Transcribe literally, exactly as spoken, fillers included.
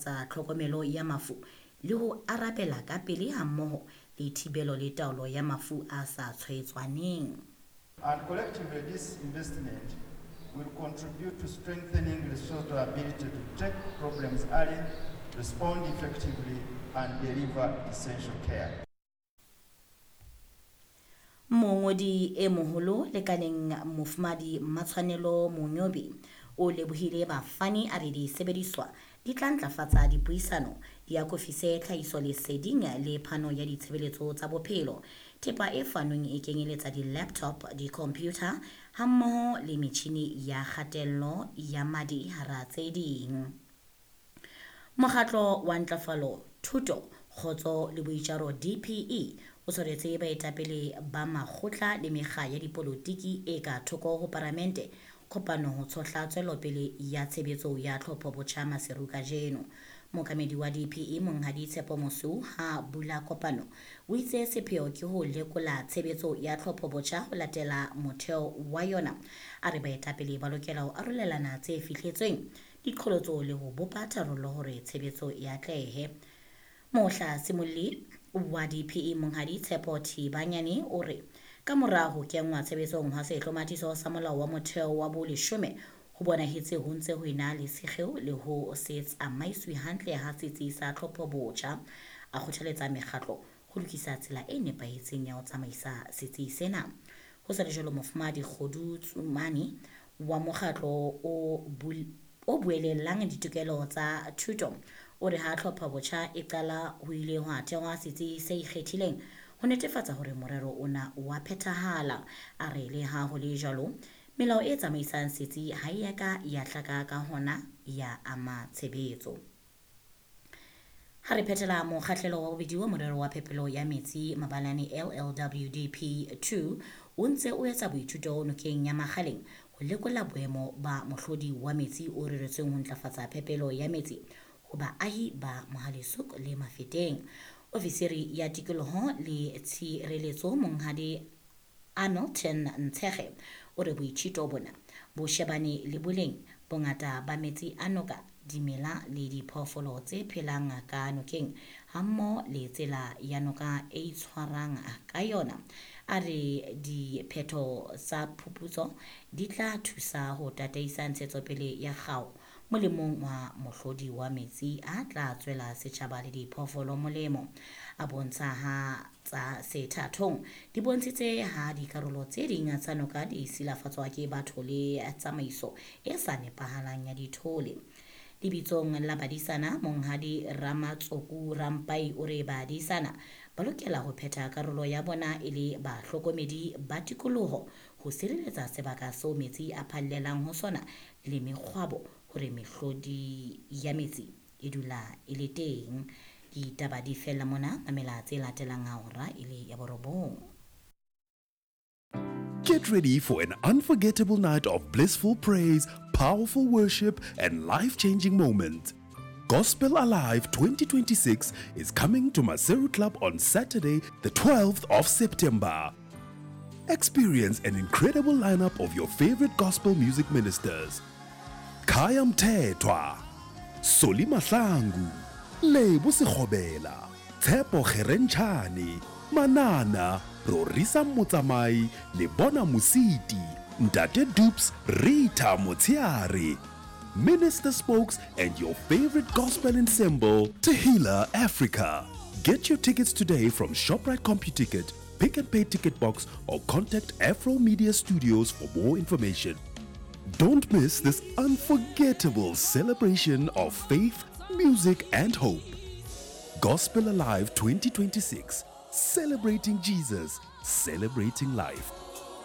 ntlafatsa tlhokomelo ya mafu le ho arabela ka pele hammoho le thibelo le taolo ya mafu a sa tshwaetsaneng. And collectively, this investment will contribute to strengthening Lesotho's ability to detect problems early, respond effectively, and deliver essential care. Mongodi e moholo lekaleng Mofumahadi Matshwanelo Monyobi o lebohile bafani a re disebediswa di tla ntlafatsa dipuisano, di akofise tlhahisoleseding le phano ya ditshebeletso tsa bophelo. Thepa e fanweng e kenyeletsa di-laptop, di-computer hammoho le metjhini ya kgatello ya madi hara tse ding. Mokgatlo wa Ntlafalo, Thuto, Kgotso le Boitjaro D P E o tshwaretse baetapele ba makgotla le mekga ya dipolotiki e ka thoko ho paramente kopano ho tshohla tswelopele ya tshebetso ya tlhopho botjha Maseru kajeno. Mookamedi wa D P E Monghadi Tshepo Mosweu ha bula kopano o itse sepheo ke ho lekola tshebetso ya tlhopho botjha ho latela motheo wa yona. A re baetapele ba lokela ho arolelana tse fihletsweng, diqholotso le ho bopa tharollo hore tshebetso e atlehe. Mohla Simolli wa D P E Monghadi Tshepo Thibanyane o re ka mora ho kenngwa tshebetsong ha sehlomathiso sa molao wa motheo wa boleshome ho bonahetse ho ntse ho ena le sekgeo le ho se tsamaiswe hantle ha setsi sa tlhopho botjha. A kgothaletsa mekgatlo ho lokisa tsela e nepahetseng ya ho tsamaisa setsi sena. Ho sa le jwalo, Mofumahadi Kgodu Tsumani wa mokgatlo o bul-, o buelellang ditokelo tsa thuto o re ha tlhopho botjha e qala ho ile hwa thehwa setsi se ikgethileng ho netefatsa hore morero ona o a phethahala. A re le ha ho le jwalo, melao e tsamaisang setsi ha e ya ka ya hlaka ka hona ya ama tshebetso. Ha re phethela mokgahlelo wa bobedi wa morero wa phepelo ya metsi mabalane L L W D P two o ntse o etsa boithuto nokeng ya Makgaleng ho lekola boemo ba mohlodi wa metsi o reretsweng ho ntlafatsa phepelo ya metsi ho baahi ba Mohale'shoek le Mafeteng. Ofisiri ya tikoloho le tshireletso Monghadi Hamilton Ntshege o re boithuto bona bo shebane le boleng bongata ba metsi a noka, dimela le diphoofolo tse phelang ka nokeng hammoho le tsela ya noka e itshwarang ka yona. A re diphetho tsa phuputso di tla thusa ho tataisa ntshetsopele ya kgao molemong wa mohlodi wa metsi a tla tswela setjhaba le diphoofolo molemo. A bontsha ha tsa sethathong di bontshitse ha dikarolo tse ding tsa noka di silafatswa ke batho le tsamaiso e sa nepahalang ya dithole. Lebitsong la badisana, Monghadi Ramatsoku Rampai o re badisana ba lokela ho phetha karolo ya bona e le bahlokomedi ba tikoloho ho sireletsa sebaka seo metsi a phallelang ho sona le mekgwabo hore mehlodi ya metsi e dula e le teng. Ditaba di fella mona, mamela tse latelang ha hora e le ya borobong. Get ready for an unforgettable night of blissful praise, powerful worship, and life-changing moments. Gospel Alive twenty twenty-six is coming to Maseru Club on Saturday, the twelfth of September. Experience an incredible lineup of your favorite gospel music ministers. Khaya Mthethwa, Solly Mahlangu, Lebo Sekgobela, Tshepo Kgerentshane, Manana, Rorisa Motsamai, Lebona Mositi, Ntate Dupes, Rita Motsiare, Minister Spokes, and your favorite gospel ensemble, Tehila Africa. Get your tickets today from ShopRite CompuTicket, Pick and Pay Ticket Box, or contact Afro Media Studios for more information. Don't miss this unforgettable celebration of faith, music, and hope. Gospel Alive twenty twenty-six, celebrating Jesus, celebrating life.